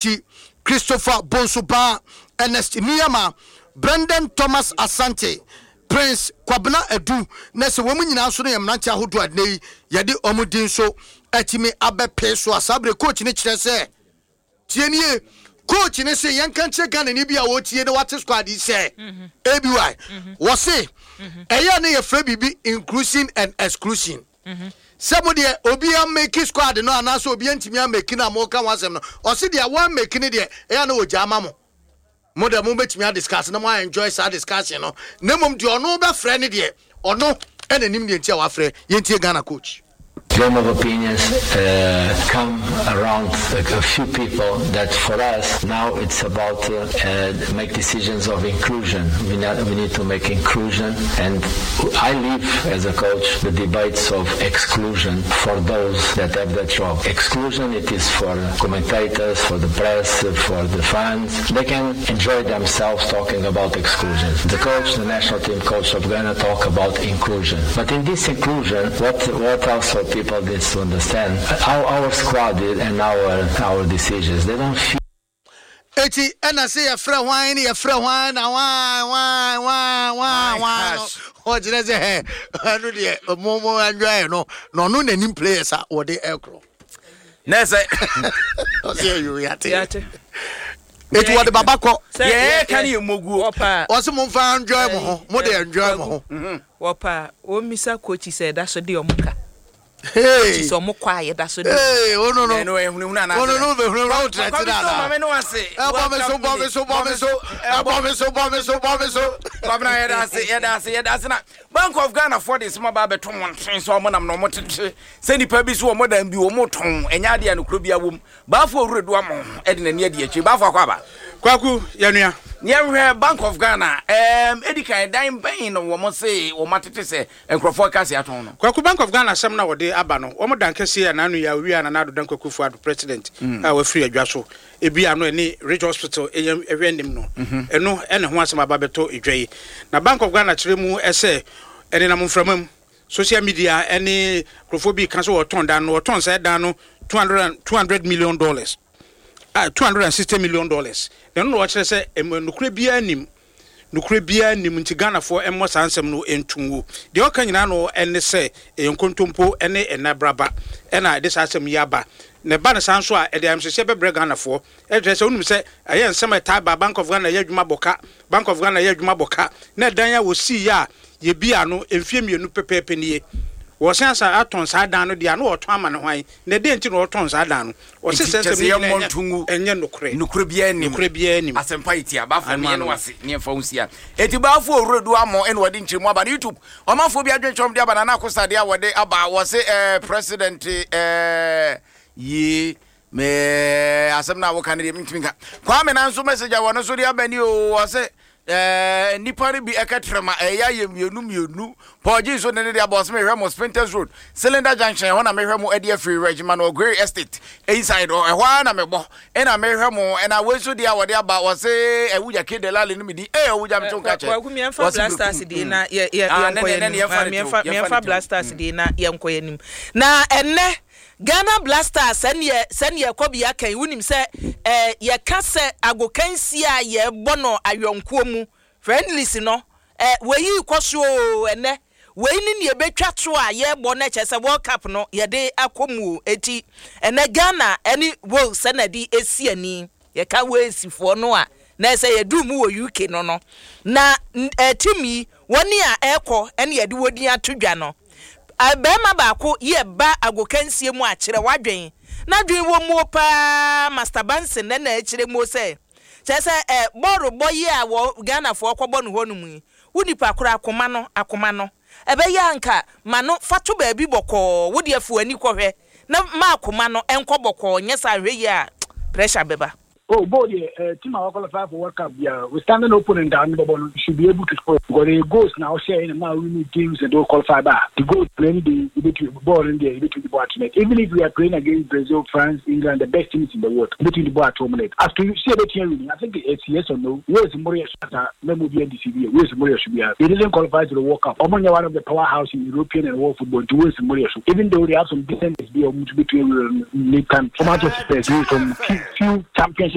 Ti, Christopher Bonsu Baah, Ernest Nuamah, Brendan Thomas Asante, Prince Kwabena Adu, na sɛ wɔn nyinaa nso no yɛ mmeranteɛ ahodoɔ a nnɛ yi yɛde wɔn din nso atumi abɛpee so a saa berɛ coach no kyerɛ sɛ tie nie coach no se yɛnka nkyerɛ Ghanani bi a ɔretie na wate squad yi sɛ ABY wɔse ɛyɛ ne yɛfrɛ biribi inclusion and exclusion. Sɛ mo deɛ obi ameki squad no anaasɛ obi antumi ameki no a moka ho asɛm no, ɔse deɛ wɔameki no deɛ ɛyɛ a na wɔgyaa ma mo. Mo deɛ mobɛtumi adiscuss na mo a enjoy saa discussion no, na mmom deɛ ɔno bɛfrɛ no deɛ ɔno ɛna nim deɛ nti a wafrɛ. Yɛntie Ghana coach. Game of opinions uh, come around a, a few people that for us now it's about uh, uh, make decisions of inclusion. We, not, we need to make inclusion and I leave as a coach the debates of exclusion for those that have that job. Exclusion it is for commentators, for the press, for the fans. They can enjoy themselves talking about exclusion. The coach, the national team coach of Ghana talk about inclusion. But in this inclusion, what what also people need to understand, our, our squad and our our decisions, they don't feel Eti ɛna se yɛfrɛ hwan ne yɛfrɛ hwan na hwan hwan hwan hwan hwan no ɔkyerɛ sɛ ɛ ɛno deɛ mo mo enjoy no na ɔno n'anim players a wɔde ɛkorɔ. Na ɛsɛ. Ɔsɛ ɛyɛ yate. Eti wɔde baba kɔ. Yɛɛ ka ne yɛ moguo. Ɔsɛ mo nfa enjoy mo ho mo de enjoy mo ho. Wɔpa wɔn misa coach sɛ ɛda so de ɔmo ka. Hey. Sɛ ɔmo kɔ a yɛda so de. Hey, ono no. Ɛno ɛyɛ hunahuna anaasɛ. Ono no bɛ hunahuna o tẹrɛ ti na na. Maame no ase. Ɛbɔ mi so bɔ mi so bɔ mi so ɛbɔ mi so bɔ mi so bɔ mi so. Kwabena yɛda ase yɛda ase yɛda ase na Bank of Ghana foɔ de nsɛm aba abɛto mmɔnten sɛ ɔmo nam na ɔmo tete sɛ nipa bi so ɔmo dan bi ɔmo tɔn ɛnyɛ adeɛ a nokorɛ bi awom. Baafo Owura Duamoh de n'ani adi akyire. Baafo akɔ aba. Kwaku, yɛnua. Yɛnhwɛ Bank of Ghana. Ɛɛm, edi kan, dan bɛn na wɔn se wɔn atete sɛ nkurɔfoɔ reka se atɔn no? Kwaku, Bank of Ghana asɛm no a wɔde aba no, wɔn dan kɛseɛ a n'ano yi a owia Nana Addo Dankwa Akufo Addo, President a wafiri adwa so, ebi ano ɛne Ridge Hospital ɛyɛ ɛhwɛ anim no, ɛno ɛna ho asɛm aba abɛtɔ dwa yi. Na Bank of Ghana kyerɛ mu sɛ ɛnenam mframa mu. Social media ne nkurɔfoɔ bi reka sɛ wɔtɔn dan no, wɔtɔn saa dan no $200 million, ah, $260 million. Na ɛno na wɔkyerɛ sɛ ɛmu nokorɛ biara nnim, nokorɛ biara nnim nti Ghanafoɔ mmɔ saa nsɛm no nto ngu. Deɛ ɔka nyinaa no ne sɛ ɛyɛ nkontompo ne nnabraba na ɛde saa asɛm yi aba. Na ɛba no saa nso a, ɛde ayamhyehyeɛ bɛbrɛ Ghanafoɔ. Ɛkyerɛ sɛ wonim sɛ ɛyɛ nsɛm a ɛtaa ba, Bank of Ghana yɛ adwuma bɔ ka, Bank of Ghana yɛ adwuma bɔ ka, na ɛdan a wɔsiiɛ a yɛbii ano mfeɛ mmienu pɛpɛɛpɛ nie. Wɔsan asan atɔn saa dan no deɛ a, na wɔtɔn ama no hwan? Na ɛdeɛn nti na wɔtɔn saa dan no? Wɔse Nti saa kyerɛ nsɛm sɛ no yɛmmɔ nyinaa nto ngu. ɛnyɛ nokorɛ. Nokorɛ biara nnim. Nokorɛ biara nnim. Asɛmpa yi tia. Baafo Ano meɛ no ano. ase ne yɛmfa wo nsia. Enti Baafo Owuredu Amoh ɛna ɔde nkyerɛmu aba no YouTube. Ɔmanfoɔ bi adwenkyerɛ wɔn de aba Nana Akosa deɛ a wɔde aba wɔse eh, President eh, yie Me asɛm no a woka no deɛ mentumi nka. Kwame na nso message a wɔno nso de aba ni o ɔse eh, nnipa no bi ɛka trɛma ɛyɛ ayɛ mmienu mmienu. Paul G nso de ne de aba ɔse mehwɛ mo Spintex Road Cylinder Junction ɛhɔ na mehwɛ mo adi afiri Regiment Grey Estate inside hɔ ɛhɔ ara na mebɔ ɛna mehwɛ mo ɛna wei nso deɛ a wɔde aba ɔse ɛwugya ke delali no medi ee ɔwugya meto nka kyɛ Kwaku mmiɛnfa ɔse Blasters berekum deɛ mm. na yɛ yɛ Ah, yɛnkɔ ne yɛn ne ne anim. yɛmfa Ah, ne tew mmiɛnfa yɛmfa ne mmiɛnfa tew Blasters mm. deɛ na yɛnkɔ yɛn anim. Na ɛnnɛ Ghana Blackstars sɛdeɛ sɛdeɛ Kɔbi aka yi wonim sɛ eh, yɛka sɛ agokansie a yɛbɔ no ayɔnkoɔ mu friendlies no eh, wei rekɔ so oo ɛnɛ wei ne nea ɛbɛtwa to a yɛrebɔ no kyerɛ sɛ World Cup no yɛde akɔ mu o eti ɛnɛ Ghana ɛne Wales ɛna ɛde esi ani. Yɛka Walesfoɔ no a, na ɛsɛ yɛduru mu wɔ UK no no, na team yi, wɔn a ɛrekɔ ne yɛde wɔn din ato dwa no, barima baako yɛ ba agokansie mu a, kyerɛ w'adwen. N'adwen wɔ muo paa, Master Banson na na ɛkyerɛ muo sɛ, kyerɛ sɛ ɛ, bɔɔlo bɔ yi a wɔ Ghanafoɔ kɔbɔ no hɔ nom yi, wo nipa koro akoma no, akoma no, ɛbɛyɛ a nka ma no fa to baabi bɔkɔɔ, wo deɛ fa w'ani kɔhwɛ, Na ma akoma no nkɔ bɔkɔɔ nyɛ saa nhwɛ yie a pressure bɛba. Oh goal deɛ eh, team a qualify for World Cup biara with standing opponent a ɔne bɔbɔ no you should be able to score because the goals na ɔhyɛ na ma winning games and do qualify ba the goals na any day yɛbɛtumi bɔɔl no deɛ yɛbɛtumi de bɔ ato net even if we are playing against Brazil, France, England the best teams in the world yɛbɛtumi de bɔ ato wɔn net as to sɛ yɛbɛtumi awini I think it's yes or no Wales mmoro yɛ so asa mɛmu bi ndc bi Wales mmoro yɛ so biara they didn't qualify to the World Cup wɔn nyɛ one of the power house in European and world football nti Wales mmoro yɛ so even though they have some decent bi a wɔn nso bɛtumi awura no ne time wɔn akyɛ Spurs some few championship.